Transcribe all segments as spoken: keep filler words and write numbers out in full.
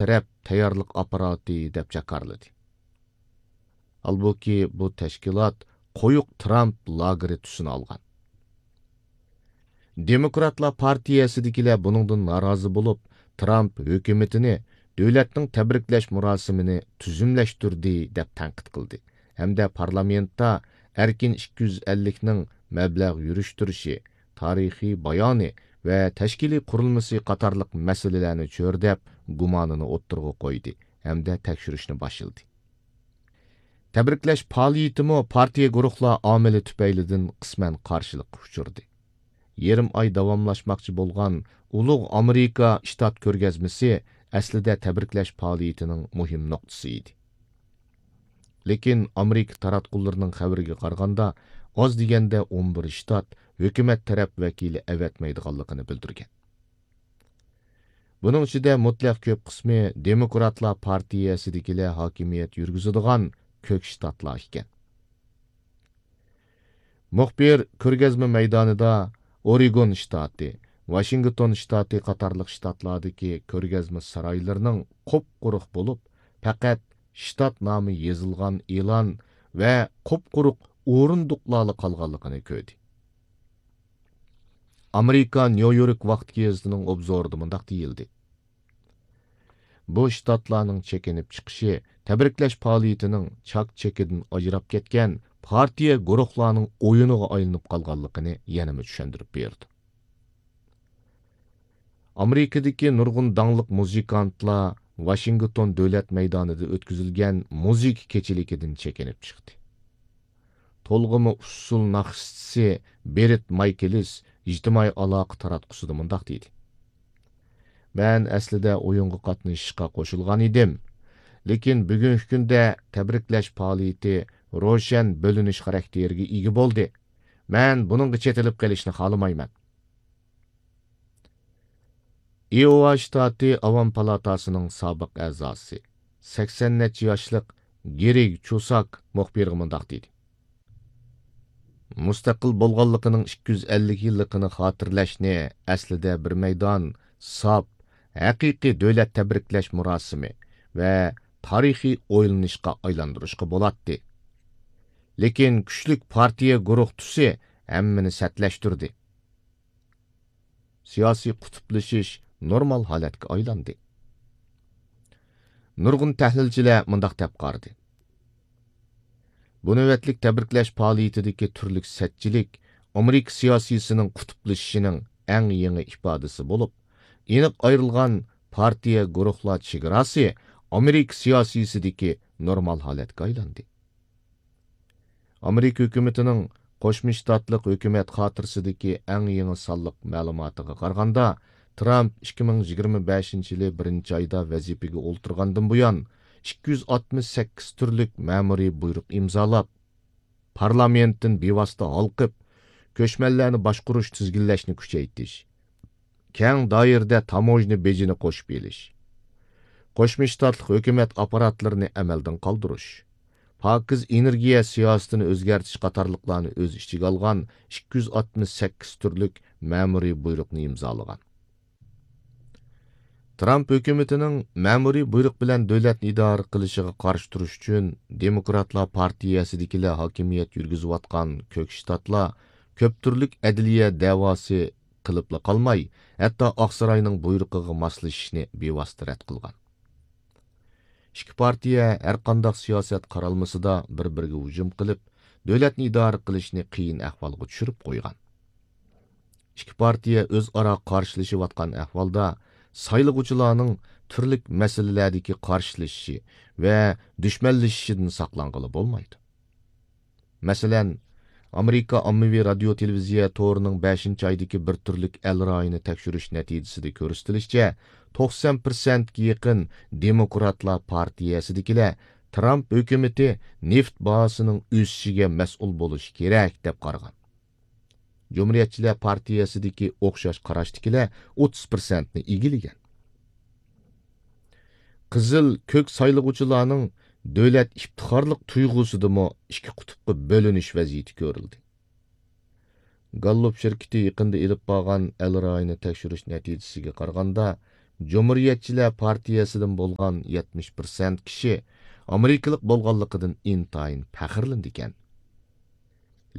تەرەپ تەييارلىق ئاپپاراتى دەپ جاكارلىدى. ھالبۇكى، بۇ تەشكىلات قويۇق ترامپ لاگېرى تۈسىنى ئالغان. دېموكراتلار پارتىيەسىدىكىلەر بۇنىڭدىن نارازى بولۇپ، ترامپ ھۆكۈمىتىنى دۆلەتنىڭ تەبرىكلەش مۇراسىمىنى تۈزۈملەشتۈردى، دەپ تەنقىد قىلدى ھەمدە پارلامېنتتا ئەركىن ئىككى يۈز ئەللىكنىڭ مەبلەغ يۈرۈشتۈرۈشى، تارىخىي بايانى ۋە تەشكىلىي قۇرۇلمىسى قاتارلىق مەسىلىلەرنى چۆرىدەپ، گۇمانىنى ئوتتۇرىغا قويدى ھەمدە تەكشۈرۈشنى باشلىدى. تەبرىكلەش پائالىيىتىمۇ پارتىيە گۇرۇھلار ئامىلى تۈپەيلىدىن قىسمەن قارشىلىققا ئۇچرىدى. يېرىم ئاي داۋاملاشماقچى بولغان ئۇلۇغ ئامېرىكا شتات كۆرگەزمىسى ئەسلىدە تەبرىكلەش پائالىيىتىنىڭ مۇھىم نۇقتىسى ئىدى. لېكىن ئامېرىكا تاراتقۇلىرىنىڭ خەۋىرىگە قارىغاندا، ئاز دېگەندە ئون بىر شتات ھۆكۈمەت تەرەپ ۋەكىلى ئەۋەتمەيدىغانلىقىنى بىلدۈرگەن. بۇنىڭ ئىچىدە مۇتلەق كۆپ قىسمى دېموكراتلار پارتىيەسىدىكىلەر ھاكىمىيەت يۈرگۈزىدىغان كۆك شتاتلار ئىكەن. مۇخبىر كۆرگەزمە مەيدانىدا ئورېگون شتاتى، ۋاشىنگتون شتاتى قاتارلىق شتاتلاردىكى كۆرگەزمە سارايلىرىنىڭ قۇپقۇرۇق بولۇپ، پەقەت شتات نامى يېزىلغان ئېلان ۋە قۇپقۇرۇق ئورۇندۇقلارلا قالغانلىقىنى كۆردى. ئامېرىكا نيۇ يورك ۋاقتى گېزىتىنىڭ ئوبزورىدا مۇنداق دېيىلدى: بۇ شتاتلارنىڭ چېكىنىپ چىقىشى تەبرىكلەش پائالىيىتىنىڭ چاك-چېكىدىن ئاجراپ كەتكەن پارتىيە گۇرۇھلارنىڭ ئويۇنىغا ئايلىنىپ قالغانلىقىنى يەنىمۇ چۈشەندۈرۈپ بېرىدۇ. ئامېرىكىدىكى نۇرغۇن داڭلىق مۇزىكانتلار ۋاشىنگتون دۆلەت مەيدانىدا ئۆتكۈزۈلگەن مۇزىكا كېچىلىكىدىن چېكىنىپ چىقتى. تولغىما ئۇسسۇل ناخشىچىسى بېرت مايكېلىس ئىجتىمائىي ئالاقە تاراتقۇسىدا مۇنداق دېدى: مەن ئەسلىدە ئويۇنغا قاتنىشىشقا قوشۇلغان ئىدىم، لېكىن بۈگۈنكى كۈندە تەبرىكلەش پائالىيىتى روشەن بۆلۈنۈش خاراكتېرىگە ئىگە بولدى. مەن بۇنىڭغا چېتىلىپ قېلىشنى خالىمايمەن. ئىئوۋا شتاتى ئاۋام پالاتاسىنىڭ سابىق ئەزاسى، سەكسەن نەچچە ياشلىق گېرىگ چۇساك مۇخبىرغا مۇنداق دېدى: مۇستەقىل بولغانلىقىنىڭ ئىككى يۈز ئەللىك يىللىقىنى خاتىرىلەشنى ئەسلىدە بىر مەيدان ساپ، ھەقىقىي دۆلەت تەبرىكلەش مۇراسىمى ۋە تارىخىي ئويلىنىشقا ئايلاندۇرۇشقا بولاتتى. لېكىن كۈچلۈك پارتىيە گۇرۇھ تۈسى ھەممىنى سەتلەشتۈردى. سىياسىي قۇتۇپلىشىش نورمال ھالەتكە ئايلاندى. نۇرغۇن تەھلىلچىلەر مۇنداق دەپ قارىدى: بۇ نۆۋەتلىك تەبرىكلەش پائالىيىتىدىكى تۈرلۈك سەتچىلىك ئامېرىكا سىياسىيسىنىڭ قۇتۇپلىشىشىنىڭ ئەڭ يېڭى ئىپادىسى بولۇپ، ئېنىق ئايرىلغان پارتىيە گۇرۇھلار چېگراسى ئامېرىكا سىياسىيسىدىكى نورمال ھالەتكە ئايلاندى. ئامېرىكا ھۆكۈمىتىنىڭ قوشما شتاتلىق ھۆكۈمەت خاتىرىسىدىكى ئەڭ يېڭى سانلىق مەلۇماتىغا قارىغاندا، ترامپ ئىككى مىڭ يىگىرمە بەشىنچى يىلى بىرىنچى ئايدا ۋەزىپىگە ئولتۇرغاندىن بۇيان، ئىككى يۈز ئاتمىش سەككىز تۈرلۈك مەمۇرىي بۇيرۇق ئىمزالاپ، پارلامېنتتىن بىۋاسىتە ھالقىپ، كۆچمەنلەرنى باشقۇرۇش، تىزگىنلەشنى كۈچەيتىش، كەڭ دائىرىدە تاموژنا بېجىنى قوشۇپ ئېلىش، قوشما شتاتلىق ھۆكۈمەت ئاپپاراتلىرىنى ئەمەلدىن قالدۇرۇش، پاكىز ئېنېرگىيە سىياسىتىنى ئۆزگەرتىش قاتارلىقلارنى ئۆز ئىچىگە ئالغان ئىككى يۈز ئاتمىش سەككىز تۈرلۈك مەمۇرىي بۇيرۇقنى ئىمزالىغان. ترامپ ھۆكۈمىتىنىڭ مەمۇرىي بۇيرۇق بىلەن دۆلەتنى ئىدارە قىلىشىغا قارشى تۇرۇش ئۈچۈن، دېموكراتلار پارتىيەسىدىكىلەر ھاكىمىيەت يۈرگۈزۈۋاتقان كۆك شتاتلار كۆپ تۈرلۈك ئەدلىيە دەۋاسى قىلىپلا قالماي، ھەتتا ئاقساراينىڭ بۇيرۇقىغا ماسلىشىشنى بىۋاسىتە رەت قىلغان. ئىككى پارتىيە ھەرقانداق سىياسەت قارالمىسىدا بىر-بىرىگە ھۇجۇم قىلىپ، دۆلەتنى ئىدارە قىلىشنى قىيىن ئەھۋالغا چۈشۈرۈپ قويغان. ئىككى پارتىيە ئۆزئارا قارشىلىشىۋاتقان ئەھۋالدا، سايلىغۇچىلارنىڭ تۈرلۈك مەسىلىلەردىكى قارشىلىشىشى ۋە دۈشمەنلىشىشىدىن ساقلانغىلى بولمايدۇ. مەسىلەن، ئامېرىكا ئاممىۋى رادىيو تېلېۋىزىيە تورىنىڭ بەشىنچى ئايدىكى بىر تۈرلۈك ئەل رايىنى تەكشۈرۈش نەتىجىسىدە كۆرسىتىلىشىچە، توقسان پىرسەنتكە يېقىن دېموكراتلار پارتىيەسىدىكىلەر ترامپ ھۆكۈمىتى نېفىت باھاسىنىڭ ئۆسۈشىگە مەسئۇل بولۇشى كېرەك، دەپ قارىغان. جۇمھۇرىيەتچىلەر پارتىيەسىدىكى ئوخشاش قاراشتىكىلەر ئوتتۇز پىرسەنتنى ئىگىلىگەن. قىزىل، كۆك سايلىغۇچىلارنىڭ دۆلەت ئىپتىخارلىق تۇيغۇسىدىمۇ ئىككى قۇتۇپقا بۆلۈنۈش ۋەزىيىتى كۆرۈلدى. گاللوپ شىركىتى يېقىندا ئېلىپ بارغان ئەل رايىنى تەكشۈرۈش نەتىجىسىگە قارىغاندا، جۇمھۇرىيەتچىلەر پارتىيەسىدىن بولغان يەتمىش پىرسەنت كىشى ئامېرىكىلىق بولغانلىقىدىن ئىنتايىن پەخىرلىنىدىكەن.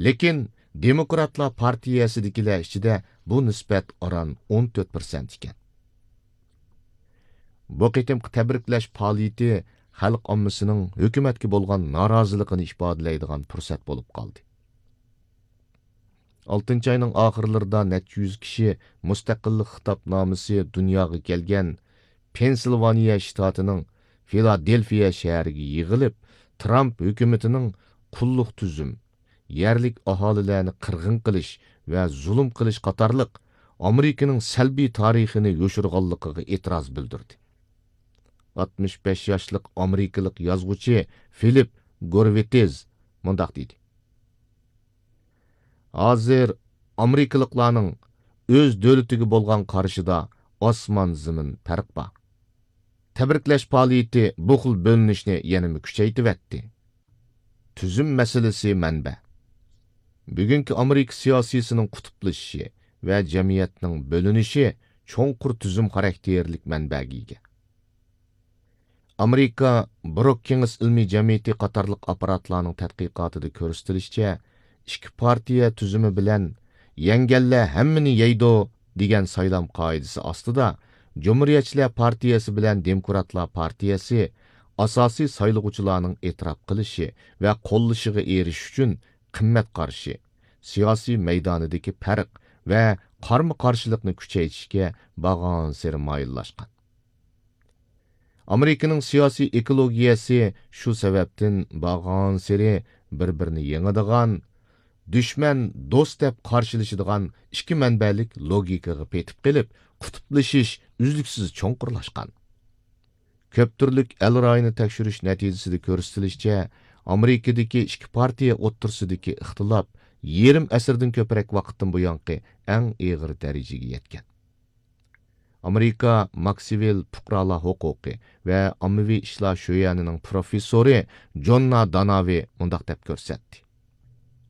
لېكىن دېموكراتلار پارتىيەسىدىكىلەر ئىچىدە بۇ نىسبەت ئاران ئون تۆت پىرسەنت ئىكەن. بۇ قېتىمقى تەبرىكلەش پائالىيىتى خەلق ئاممىسىنىڭ ھۆكۈمەتكە بولغان نارازىلىقىنى ئىپادىلەيدىغان پۇرسەت بولۇپ قالدى. ئالتىنچى ئاينىڭ ئاخىرلىرىدا نەچچە يۈز كىشى مۇستەقىللىق خىتابنامىسى دۇنياغا كەلگەن پېنسىلۋانىيە شتاتىنىڭ فىلادېلفىيە شەھىرىگە يىغىلىپ، ترامپ ھۆكۈمىتىنىڭ قۇللۇق تۈزۈم، يەرلىك ئاھالىلەرنى قىرغىن قىلىش ۋە زۇلۇم قىلىش قاتارلىق ئامېرىكىنىڭ سەلبىي تارىخىنى يوشۇرغانلىقىغا ئېتىراز بىلدۈردى. ئاتمىش بەش ياشلىق ئامېرىكىلىق يازغۇچى فىلىپ گورۋىتېز مۇنداق دېدى: «ھازىر ئامېرىكىلىقلارنىڭ ئۆز دۆلىتىگە بولغان قارىشىدا ئاسمان-زېمىن پەرق بار. تەبرىكلەش پائالىيىتى بۇ خىل بۆلۈنۈشنى يەنىمۇ كۈچەيتىۋەتتى.» تۈزۈم مەسىلىسى مەنبە. بۈگۈنكى ئامېرىكا سىياسىيسىنىڭ قۇتۇپلىشىشى ۋە جەمئىيەتنىڭ بۆلۈنۈشى چوڭقۇر تۈزۈم خاراكتېرلىك مەنبەگە ئىگە. ئامېرىكا بروككىنگس ئىلمىي جەمئىيىتى قاتارلىق ئاپپاراتلارنىڭ تەتقىقاتىدا كۆرسىتىلىشىچە، ئىككى پارتىيە تۈزۈمى بىلەن «يەڭگەنلەر ھەممىنى يەيدۇ» دېگەن سايلام قائىدىسى ئاستىدا، جۇمھۇرىيەتچىلەر پارتىيەسى بىلەن دېموكراتلار پارتىيەسى ئاساسىي سايلىغۇچىلارنىڭ ئېتىراپ قىلىشى ۋە قوللىشىغا ئېرىشىش ئۈچۈن قىممەت قارىشى، سىياسىي مەيدانىدىكى پەرق ۋە قارمۇ قارشىلىقنى كۈچەيتىشكە بارغانسېرى مايىللاشقان. ئامېرىكىنىڭ سىياسىي ئېكولوگىيەسى شۇ سەۋەبتىن بارغانسېرى بىر-بىرىنى يېڭىدىغان، دۈشمەن دوست دەپ قارشىلىشىدىغان ئىككى مەنبەلىك لوگىكىغا پېتىپ قېلىپ، قۇتۇپلىشىش ئۈزلۈكسىز چوڭقۇرلاشقان. كۆپ تۈرلۈك ئەل رايىنى تەكشۈرۈش نەتىجىسىدە كۆرسىتىلىشىچە، ئامېرىكىدىكى ئىككى پارتىيە ئوتتۇرىسىدىكى ئىختىلاپ يېرىم ئەسىردىن كۆپرەك ۋاقىتتىن بۇيانقى ئەڭ ئېغىر دەرىجىگە يەتكەن. ئامېرىكا ماكسۋېل پۇقرالار ھوقۇقى ۋە ئاممىۋى ئىشلار شۆيەنىنىڭ پروفېسسورى جوننا داناۋى مۇنداق دەپ كۆرسەتتى: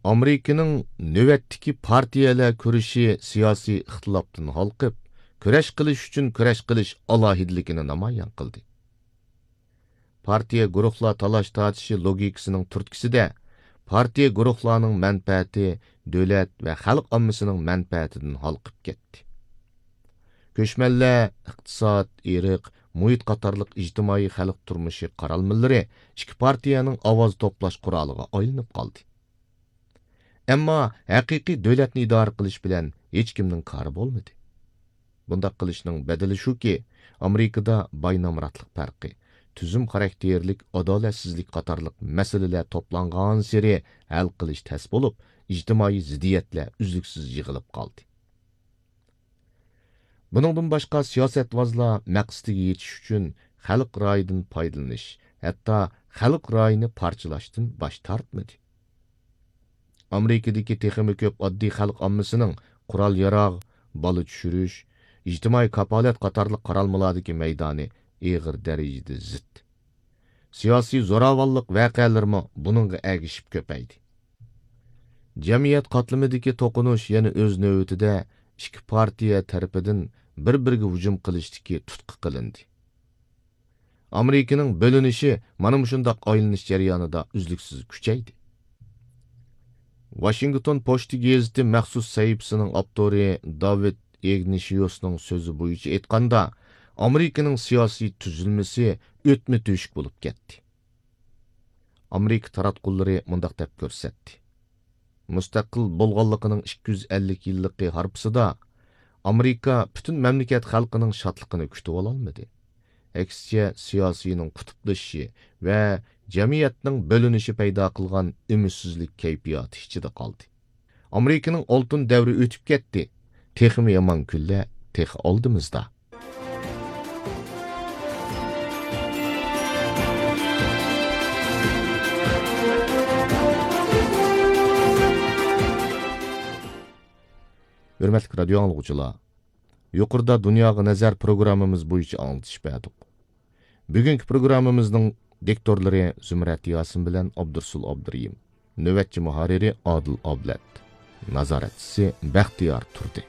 «ئامېرىكىنىڭ نۆۋەتتىكى پارتىيەلەر كۈرىشى سىياسىي ئىختىلاپتىن ھالقىپ، كۈرەش قىلىش ئۈچۈن كۈرەش قىلىش ئالاھىدىلىكىنى نامايان قىلدى.» پارتىيە گۇرۇھلار تالاش-تارتىشى لوگىكىسىنىڭ تۈرتكىسىدە، پارتىيە گۇرۇھلارنىڭ مەنپەئەتى دۆلەت ۋە خەلق ئاممىسىنىڭ مەنپەئەتىدىن ھالقىپ كەتتى. كۆچمەنلەر، ئىقتىساد، ئىرق، مۇھىت قاتارلىق ئىجتىمائىي خەلق تۇرمۇشى قارالمىلىرى ئىككى پارتىيەنىڭ ئاۋاز توپلاش قورالىغا ئايلىنىپ قالدى. ئەمما ھەقىقىي دۆلەتنى ئىدارە قىلىش بىلەن ھېچكىمنىڭ كارى بولمىدى. بۇنداق قىلىشنىڭ بەدىلى شۇكى، ئامېرىكىدا باي-نامراتلىق پەرقى، تۈزۈم خاراكتېرلىك ئادالەتسىزلىك قاتارلىق مەسىلىلەر توپلانغانسېرى ھەل قىلىش تەس بولۇپ، ئىجتىمائىي زىددىيەتلەر ئۈزلۈكسىز يىغىلىپ قالدى. بۇنىڭدىن باشقا، سىياسەتۋازلار مەقسىتىگە يېتىش ئۈچۈن خەلق رايىدىن پايدىلىنىش، ھەتتا خەلق رايىنى پارچىلاشتىن باش تارتمىدى. ئامېرىكىدىكى تېخىمۇ كۆپ ئاددىي خەلق ئاممىسىنىڭ قورال-ياراغ، بالا چۈشۈرۈش، ئىجتىمائىي كاپالەت قاتارلىق قارالمىلاردىكى مەيدانى ئېغىر دەرىجىدە زىت. سىياسىي زوراۋانلىق ۋەقەلىرىمۇ بۇنىڭغا ئەگىشىپ كۆپەيدى. جەمئىيەت قاتلىمىدىكى توقۇنۇش يەنە ئۆز نۆۋىتىدە ئىككى پارتىيە تەرىپىدىن بىر-بىرىگە ھۇجۇم قىلىشتىكى تۇتقا قىلىندى. ئامېرىكىنىڭ بۆلۈنۈشى مانا مۇشۇنداق ئايلىنىش جەريانىدا ئۈزلۈكسىز كۈچەيدى. ۋاشىنگتون پوچتا گېزىتى مەخسۇس سەھىپىسىنىڭ ئاپتورى داۋىد ئىگنىشيۇسنىڭ سۆزى بويىچە ئېيتقاندا، ئامېرىكىنىڭ سىياسىي تۈزۈلمىسى ئۆتمە تۆشۈك بولۇپ كەتتى. ئامېرىكا تاراتقۇلىرى مۇنداق دەپ كۆرسەتتى: مۇستەقىل بولغانلىقىنىڭ ئىككى يۈز ئەللىك يىللىقى ھارپىسىدا ئامېرىكا پۈتۈن مەملىكەت خەلقىنىڭ شادلىقىنى كۈتۈۋالالمىدى. ئەكسىچە، سىياسىينىڭ قۇتۇپلىشىشى ۋە جەمئىيەتنىڭ بۆلۈنۈشى پەيدا قىلغان ئۈمىدسىزلىك كەيپىياتى ئىچىدە قالدى. ئامېرىكىنىڭ ئالتۇن دەۋرى ئۆتۈپ كەتتى. تېخىمۇ يامان كۈنلەر تېخى ئالدىمىزدا. ھۆرمەتلىك رادىيو ئاڭلىغۇچىلار، يۇقىرىدا دۇنياغا نەزەر پروگراممىمىز بويىچە ئاڭلىتىش بەردۇق. بۈگۈنكى پروگراممىمىزنىڭ دىكتورلىرى زۇمرەت ياسىن بىلەن ئابدۇرسۇل ئابدۇرېھىم. نۆۋەتچى مۇھەررىرى ئادىل ئابلەت. نازارەتچىسى بەختىيار تۇردى.